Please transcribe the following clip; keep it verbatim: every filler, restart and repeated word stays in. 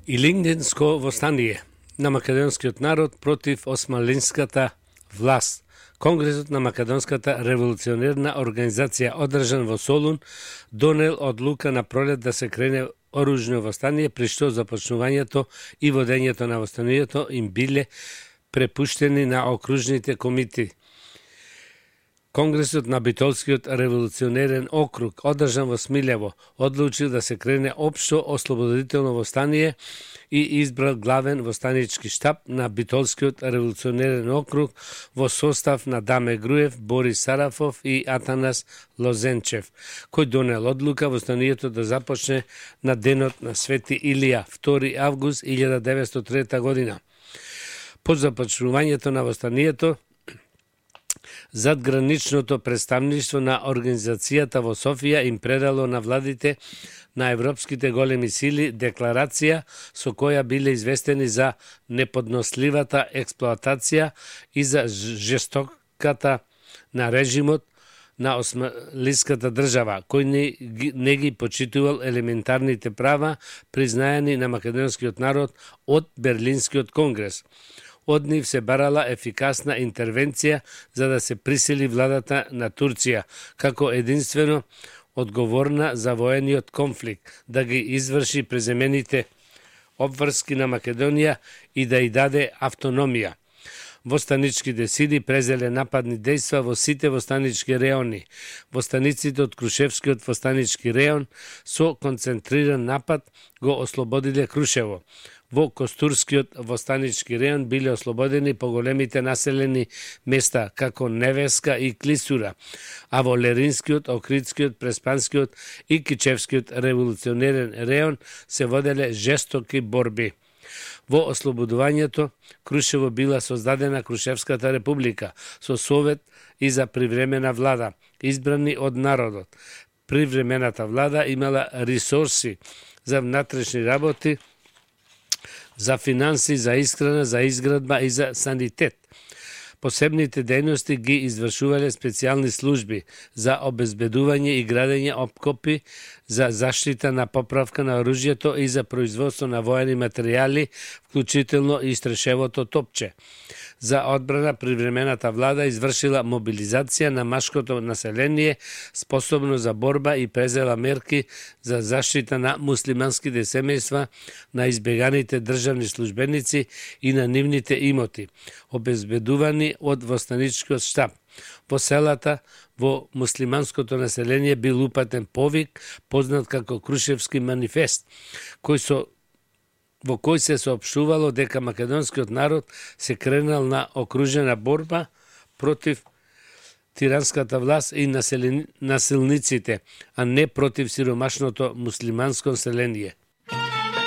Илинденско востание на македонскиот народ против османлиската власт. Конгресот на Македонската револуционерна организација одржан во Солун донел одлука на пролет да се крене оружно востание, при што започнувањето и водењето на востанието им биле препуштени на окружните комити. Конгресот на Битолскиот револуционерен округ, одржан во Смилјево, одлучил да се крене општо ослободително востание и избрал главен востанички штаб на Битолскиот револуционерен округ во состав на Даме Груев, Борис Сарафов и Атанас Лозенчев, кој донел одлука востанието да започне на денот на Свети Илија, втори август илјада деветстотини и трета година. По започнувањето на востанието, задграничното представништво на организацијата во Софија им предало на владите на европските големи сили декларација со која биле известени за неподносливата експлоатација и за жестоката на режимот на османлиската држава, кој не, не ги почитувал елементарните права признаени на македонскиот народ од Берлинскиот конгрес. Од нив се барала ефикасна интервенција за да се присили владата на Турција, како единствено одговорна за воениот конфликт, да ги изврши преземените обврски на Македонија и да ја даде автономија. Востаничките сили презеле нападни дејства во сите востанички реони. Востаниците од Крушевскиот востанички реон со концентриран напад го ослободиле Крушево. Во Костурскиот востанички реон биле ослободени поголемите населени места, како Невеска и Клисура, а во Леринскиот, Охридскиот, Преспанскиот и Кичевскиот револуционерен реон се воделе жестоки борби. Во ослободувањето, Крушево била создадена Крушевската република со совет и за привремена влада, избрани од народот. Привремената влада имала ресурси за внатрешни работи, за финанси, за исхрана, за изградба и за санитет. Посебните дејности ги извршувале специјални служби за обезбедување и градење опкопи, за заштита на поправка на оружјето и за производство на воени материјали, вклучително и стрешевото топче. За одбрана привремената влада извршила мобилизација на машкото население способно за борба и презела мерки за заштита на муслиманските семејства, на избеганите државни службеници и на нивните имоти, обезбедувани од востаничкиот штаб. Во селата, во муслиманското население бил упатен повик, познат како Крушевски манифест, кој со во кој се соопштувало дека македонскиот народ се кренал на окружена борба против тиранската власт и насилниците, а не против сиромашното муслиманско население.